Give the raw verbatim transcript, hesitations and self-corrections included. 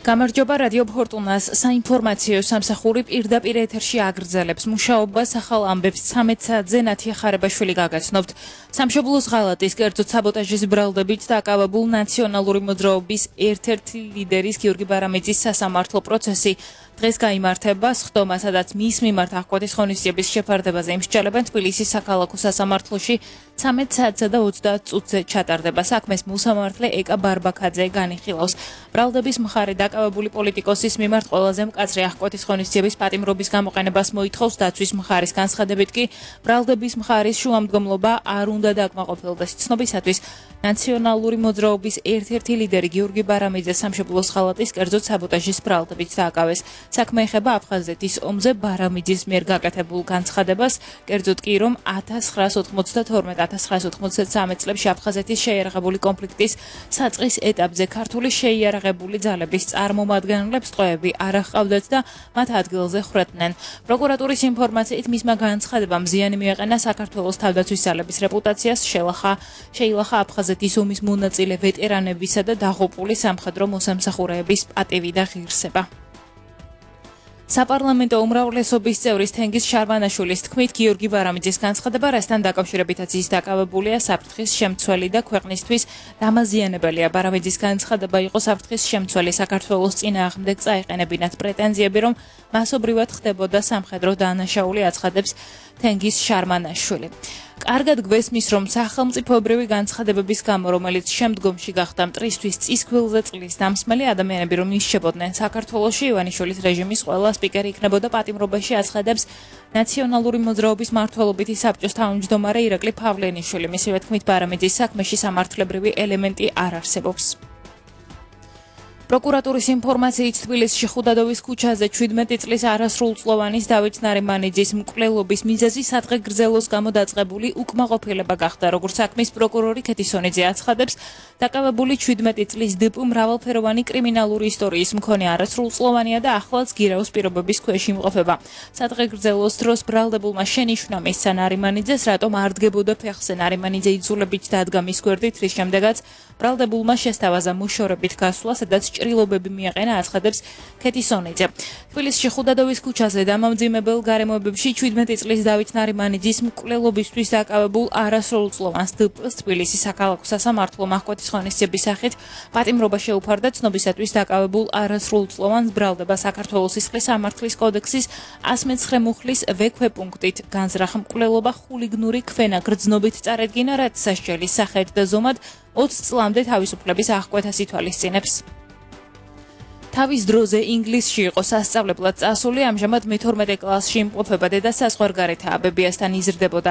გამარჯობა რადიო ფორტუნას საინფორმაციო სამსახური პირდაპირ ეთერში აგრძელებს მუშაობას ახალ ამბებს ცამეტ საათზე ნათია ხარებაშვილი გაგაცნობთ. სამშობლოს ღალატის კერძოდ საბოტაჟის ბრალდებით დაკავებულ ნაციონალური მოძრაობის ერთ-ერთი ლიდერის გიორგი ბარამიძის სასამართლო პროცესი დღეს გაიმართება სხდომა, სადაც მის მიმართ აღკვეთის ღონისძიების შეფარდებაზე იმსჯელებენ თბილისის საქალაქო სასამართლოში ცამეტ საათსა და ოცდაათ წუთზე ჩატარდება. საქმეს მოსამართლე ეკა ბარბაქაძე განიხილავს. ბრალდების მხარე დაკავებული პოლიტიკოსის მიმართ ყველაზე მკაცრი აღკვეთის ღონისძიების პატიმრობის გამოყენებას მოითხოვს. დაცვის მხარის განცხადებით კი ბრალდების მხარის შუამდგომლობა არ უნდა დაკმაყოფილდეს. ცნობისათვის ნაციონალური მოძრაობის ერთ-ერთი ლიდერი გიორგი ბარამიძე სამშობლოს ღალატის კერძოდ საბოტაჟის ბრალდებით დააკავეს. საქმე ეხება აფხაზეთის ომზე ბარამიძის მიერ გაკეთებულ განცხადებას, კერძოდ კი რომ ათას ცხრაას ოთხმოცდათორმეტ ათას ცხრაას ოთხმოცდათრამეტ წლებში აფხაზეთის შეიარაღებული კონფლიქტის საწყის ეტაპზე ქართული შეიარაღებული ძალების წარმომადგენლებს ტყვეები არ აჰყავდათ და მათ ადგილზე ხრედნენ. პროკურატურის ინფორმაციით მისმა განცხადებამ ზიანი მიაყენა საქართველოს თავდაცვის ძალების რეპუტაციას, შეილახა შეილახა აფხაზეთის ომის მონაწილე ვეტერანებისა და დაღუპული სამხედრო მოსამსახურეების პატივი და ღირსება. საპარლამენტო უმრავლესობის წევრის თენგიზ შარვანაშვილის თქმით, გიორგი ბარამიძის განცხადება, რასთან დაკავშირებითაც ის დაკავებულია, საფრთხის შემცველი და ქვეყნისთვის დამაზიანებელია. ბარამიძის განცხადება იყო საფრთხის შემცველი საქართველოს წინააღმდეგ წაეყენებინათ პრეტენზიები, რომ მასობრივად ხდებოდა სამხედრო დანაშაული, აცხადებს თენგიზ შარვანაშვილი. კარგად გვესმის, რომ სახელმწიფოებრივი განცხადებების გამო, რომელიც შემდგომში გახდა მტრისთვის წისქვილზე წლის დამსმელი ადამიანები, რომ იშებოდნენ საქართველოში, ივანიშვილის რეჟიმის ყველა სპიკერი იქნებოდა პატიმრობაში, აცხადებს ნაციონალური მოძრაობის მმართველობითი საბჭოს თავმჯდომარე ირაკლი ფავლენიშვილი. მისივე თქმით, ბარამიძის საქმეში სამართლებრივი ელემენტი არ არსებობს. პროკურატურის ინფორმაციით თბილისში ხუდადოვის ქუჩაზე ჩვიდმეტი წლის არასრულწლოვანის დავით ნარიმანიძის მკვლელობის მიზეზი სადღე გრძელოს გამო დაწყებული უკმაყოფილება გახდა. როგორც საქმის პროკურორი ქეთისონიძე აცხადებს, დაკავებული ჩვიდმეტი წლის დპ მრავალფეროვანი კრიმინალური ისტორიის მქონე არასრულწლოვანია და ახლაც გირაოს პირობების ქვეშ იმყოფება. სადღე გრძელოს დროს ბრალდებულმა შენიშვნა მისცა ნარიმანიძეს, რატომ არ დგებოდა ფეხზე. ნარიმანიძე იძულებით დადგა მის გვერდით, რის შემდეგაც ბრალდებულმა შესთავაზა მოშორებით გასვლა, სადაც ჭრილობები მიაყენა, აცხადებს ქეთისონიძე. თბილისში ხუდადოვის ქუჩაზე დამამძიმებელ გარემოებებში ჩვიდმეტი წლის დავით ნარიმანიძის მკვლელობისთვის დაკავებულ არასრულწლოვანს დპ-ს თბილისის საქალაქო სასამართლომ აღკვეთის ღონისძიების სახით პატიმრობა შეუფარდა. ცნობისათვის დაკავებულ არასრულწლოვანს ბრალდება საქართველოს სისხლის სამართლის კოდექსის ას მეცხრე მუხლის ვე ქვეპუნქტით განზრახ მკვლელობა ხულიგნური ქვენა გრძნობით წარედგინა, რაც სასჯელის სახედ და ზომად ოცი წლამდე თავისუფლების აღკვეთას ითვალისწინებს. თავის დროზე ინგლისში იყო სასწავლებლად წასული, ამჟამად მეთორმეტე კლასში იმყოფება. დედა საზღვარგარეთაა, ბებიასთან იზრდებოდა.